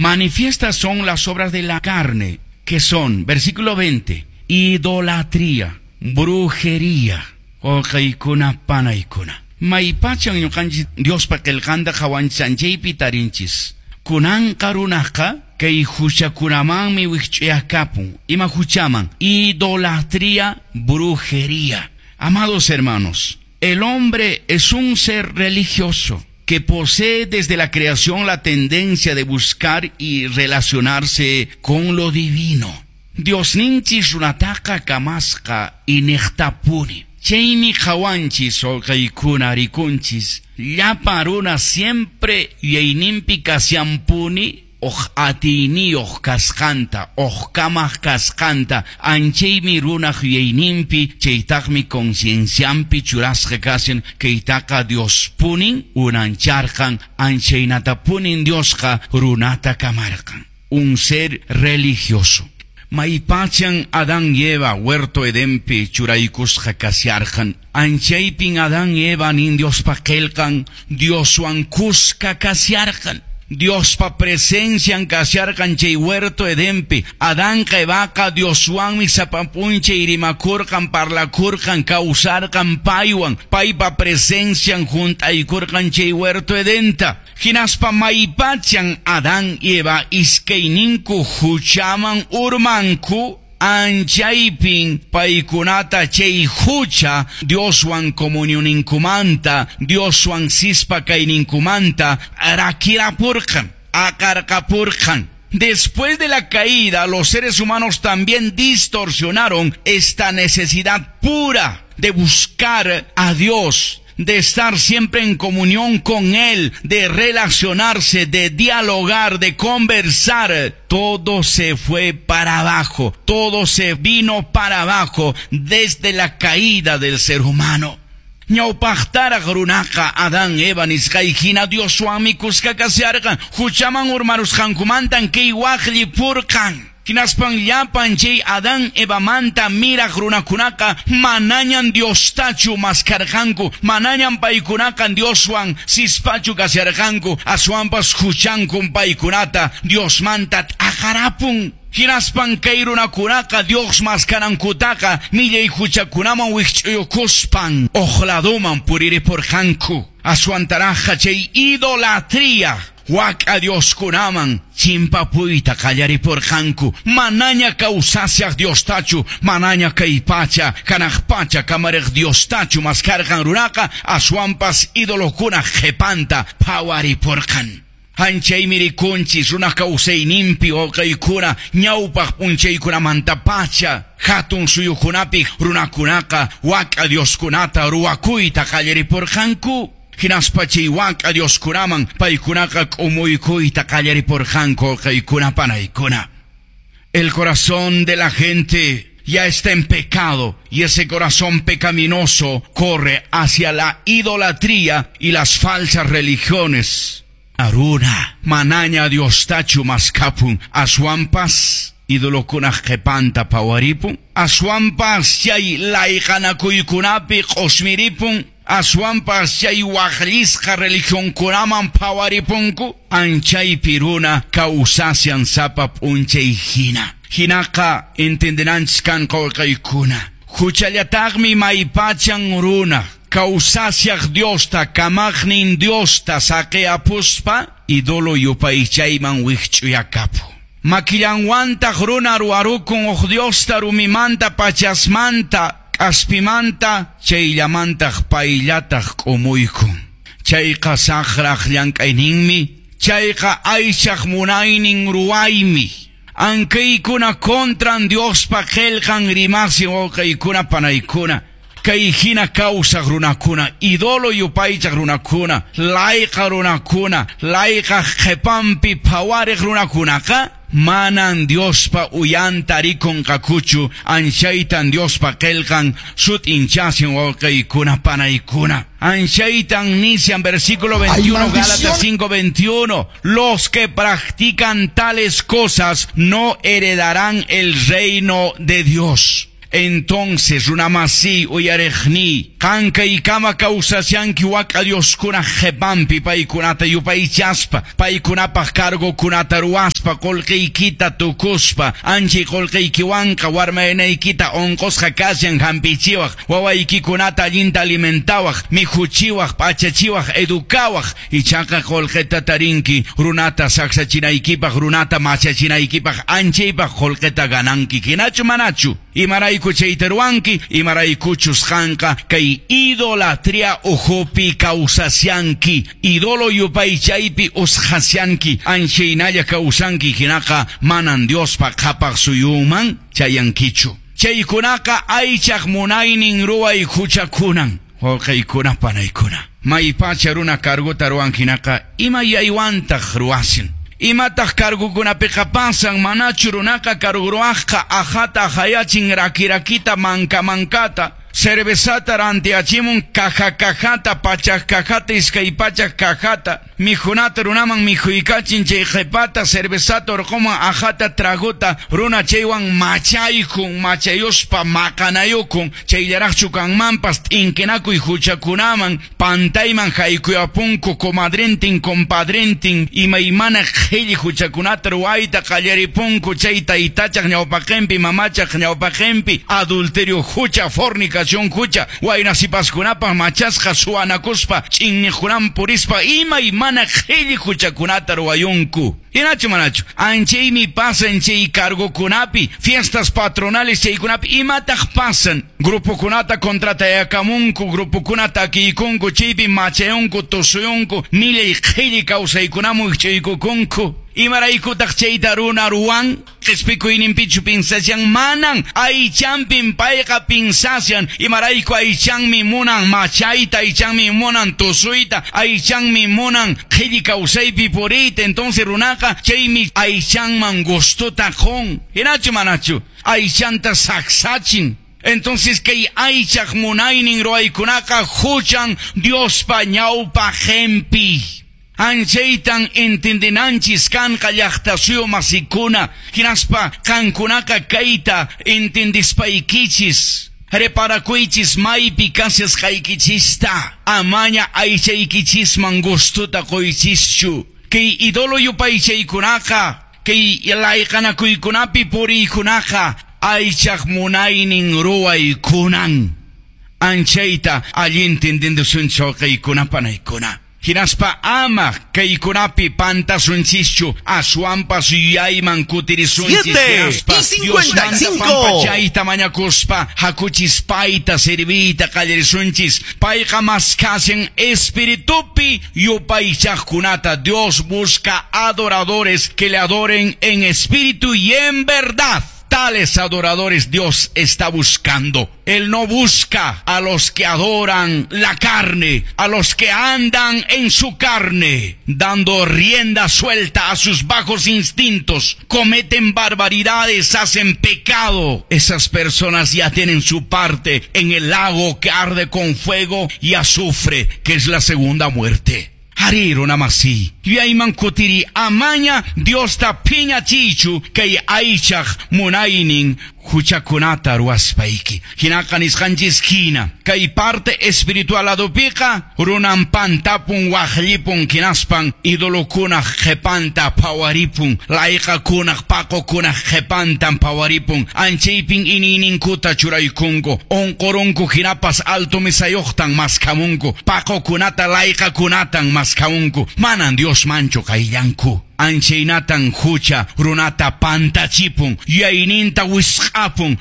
Manifiestas son las obras de la carne, que son, versículo 20, idolatría, brujería, wawqiykuna panaykuna. Maypachan ñuqanchis Diospa qillqanta qhawanchanchaypi tarinchis. Kunanqa runaqa kay huchakunamanmi wikch'uyakapun. Ima huchaman? Idolatría, brujería. Amados hermanos, el hombre es un ser religioso que posee desde la creación la tendencia de buscar y relacionarse con lo divino. Diosninchis runataqa kamasqa iniqtapuni. Chaymi qhawanchis wawqiykuna rikunchis llapa runa siempre yuyayninpi kashanpuni huk atiyniyuq kasqanta, huk kamaq kasqanta, anchaymi runaq yuyayninpi, chaytaqmi conciencianpi churasqa kashan, kaytaqa Diospunin unancharqan, anchaynatapunin Diosqa runata kamarqan. Un ser religioso. Maypachan Adán y Eva huerto Edenpi churaykusqa kasharqan. Anchaypin Adán y Eva nin Diospa qillqan Dioswan kuska kasharqan. Diospa presencian kasharqan chay huerto Edenpi. Adánqa Evaqa Dioswanmi sapa p'unchay rimakurqan, parlakurqan, kawsarqan paywan. Paypa presencian hunt'aykurqan chay huerto Edenta. Hinaspa maypachan Adán y Eva iskayninku huchaman urmanku, anchaypin paykunata chay hucha Dioswan comunioninkumanta, Dioswan sispa kayninkumanta rakirapurqan, aqarqapurqan. Después de la caída, los seres humanos también distorsionaron esta necesidad pura de buscar a Dios, de estar siempre en comunión con Él, de relacionarse, de dialogar, de conversar. Todo se fue para abajo, todo se vino para abajo desde la caída del ser humano. Ñawpaqtaraq runaqa Adán Eva nisqay hina Dioswanmi kuska kasharqan, huchaman urmarusqankumantan kay waqllipurqan. Hinaspan llapan chay Adán Evamanta miraq runakunaqa manañan Diostachu maskarqanku, manañan paykunaqa Dioswan sispachu kasharqanku, aswanpas huchankun paykunata Diosmanta t'aqarapun. Hinaspan kay runakunaqa Dios maskanankutaqa millay huchakunaman wikch'uyukuspan huk laduman puriripurqanku. Aswantaraqqa chay idolatría wak'a Dioskunaman chimpapuyta qallaripurqanku. Manaña kawsashaq Diostachu, manaña kay pacha, hanaq pacha kamariq Diostachu maskarqan runaqa, aswanpas idolokuna qhipanta phawaripurqan. Anchaymi rikunchis runaq kawsayninpi wawqiykuna ñawpaq p'unchaykunamanta pacha hatun suyukunapi runakunaqa wak'a Dioskunata ruwakuyta qallaripurqanku. Hinaspa chay wak'a Dioskunaman paykunaqa k'umuykuyta qallaripurqanku wawqiykuna panaykuna. El corazón de la gente ya está en pecado y ese corazón pecaminoso corre hacia la idolatría y las falsas religiones. Runa, manaña Diostachu maskapun, aswanpas idolokunaq qhipanta phawaripun, aswanpas chay layqanakuykunapi q'usmiripun, aswanpas chay waqllisqa religionkunaman phawaripunku, anchaypi runa kawsashan sapa p'unchay hina. Hinaqa entendenanchis kanqa wawqiykuna. Huchallataqmi maypachan runa kawsashaq Diosta, kamaqnin Diosta saqiyapuspa idolo yupaychayman wikch'uyakapu. Makillanwantaq runa ruwarukun huk Diosta rumimanta, pachasmanta, k'aspimanta, chayllamantaq payllataq k'umuykun. Chayqa saqraq llank'ayninmi, chayqa aychaq munaynin ruwaymi. Ankaykuna contran Diospa qillqan rimasin wawqiykuna panaykuna. Kay hina kawsaq runakuna, idolo yupaychaq runakuna, layqa runakuna, layqaq qhipanpi phawariq runakunaqa manan Diospa uyanta rikunqakuchu, anchaytan Diospa qillqan sut'inchasin wawqiykuna panaykuna. Anchaytan nishan versículo 21, Gálatas 5:21, los que practican tales cosas no heredarán el reino de Dios. Entonces, runamasi uyariqni, qankaykama kawsashanki wak'a Dioskuna qhipanpi paykunata yupaychaspa, paykunapaq cargokunata ruwaspa. ruwaspa qolqeykita tukuspa anchay qolqeykiwanqa warmaynaykita onqosqa kashan hampichiwaq wawaykikunata allinta alimentawaq mikhuchiwaq p'achachiwaq educawaq ichaqa qolqeta tarinki runata saksachinaykipaq runata machachinaykipaq anchaypaq qolqeta gananki hinachu manachu imarayku chayta ruwanki imaraykuchus qanqa kay idolatria ukhupi kawsasyanki idolo yupaychaypi usqhasyanki anchaynalla kawsanki hinaqa manan Diospa qhapaq suyunman chayankichu chaykunaqa aychaq munaynin ruway huchakunan wawqiykuna panaykuna maypacha runa cargota ruwan hinaqa ima yaywantaq ruwasin imataq cargukunapiqa pasan manachu runaqa cargo ruwaqqa ajata ajayachin rakirakita manka mankata cervezata rantiachimun caja cajata pachaq cajata iskay pachaq cajata mikhunata runaman mikhuykachin chay qhipata cervezata urquman ajata tragota runa chaywan machaykun machayuspa maqanayukun chayllaraqchu kanmanpas t'inkinakuy huchakunaman pantayman haykuyapunku comadrentin compadrentin imaymana qhilli huchakunata ruwayta qallaripunku chay taytachaq ñawpaqinpi mamachaq ñawpaqinpi adulterio hucha fornicación hucha wayna sipaskunapaq machasqa suwanakuspa ch'inniqkunaman purispa imaymana qhilli huchakunata ruwayunku. Hinachu manachu anchaymi pasan chay cargokunapi fiestas patronales chaykunapi imataq pasan grupokunata contratayakamunku grupokunata takiykunku chaypi machayunku tusuyunku millay qhilli kawsaykunaman wich'uykukunku imaraykutaq chayta runa ruwan qhispikuyninpichu pinsashan manan aychanpin payqa pinsashan imarayku aychanmi munan machayta aychanmi munan tusuyta aychanmi munan qhilli kawsaypi puriyta entonces runaqa chaymi aychanman gustota qun hinachu manachu aychanta saksachin. Entonces kay aychaq munaynin ruwaykunaqa huchan Diospa ñawpaqinpi. Anchaytan entendinanchis kanqa llaqta suyu masikuna hinaspa qankunaqa kayta entendispaykichis reparakuychis maypi kashasqaykichista amaña aychaykichisman gustuta quychischu kay idolo yupaychaykunaqa kay layqanakuykunapi puriykunaqa aychaq munaynin ruwaykunan anchayta allinta entendisunchis wawqiykuna panaykuna. Hinaspa ama kaykunapi pantasunchischu aswanpas yuyayman kutirisunchis 7:55 pampachayta mañakuspa hakuchis payta serviyta qallarisunchis payqa maskashan espiritupi yupaychaqkunata. Dios busca adoradores que le adoren en espíritu y en verdad. Tales adoradores Dios está buscando. Él no busca a los que adoran la carne, a los que andan en su carne, dando rienda suelta a sus bajos instintos, cometen barbaridades, hacen pecado. Esas personas ya tienen su parte en el lago que arde con fuego y azufre, que es la segunda muerte. Arí runa masi. Yuyayman kutiri amaña Diosta phiñachiychu kay aychaq munaynin huchakunata ruwaspayki. Hinaqa nisqanchis hina kay parte espiritual ladopiqa runan pantapun waqllipun hinaspan idolokunaq qhipanta phawaripun layqakunaq paqokunaq qhipantan phawaripun anchaypin iniyninkuta churaykunku unqurunku hinapas alto misayuqtan maskhamunku paqokunata layqakunatan maskhamunku manan Dios manchu qayllanku. Anchaynatan hucha runata pantachipun yuyayninta wisq'apun.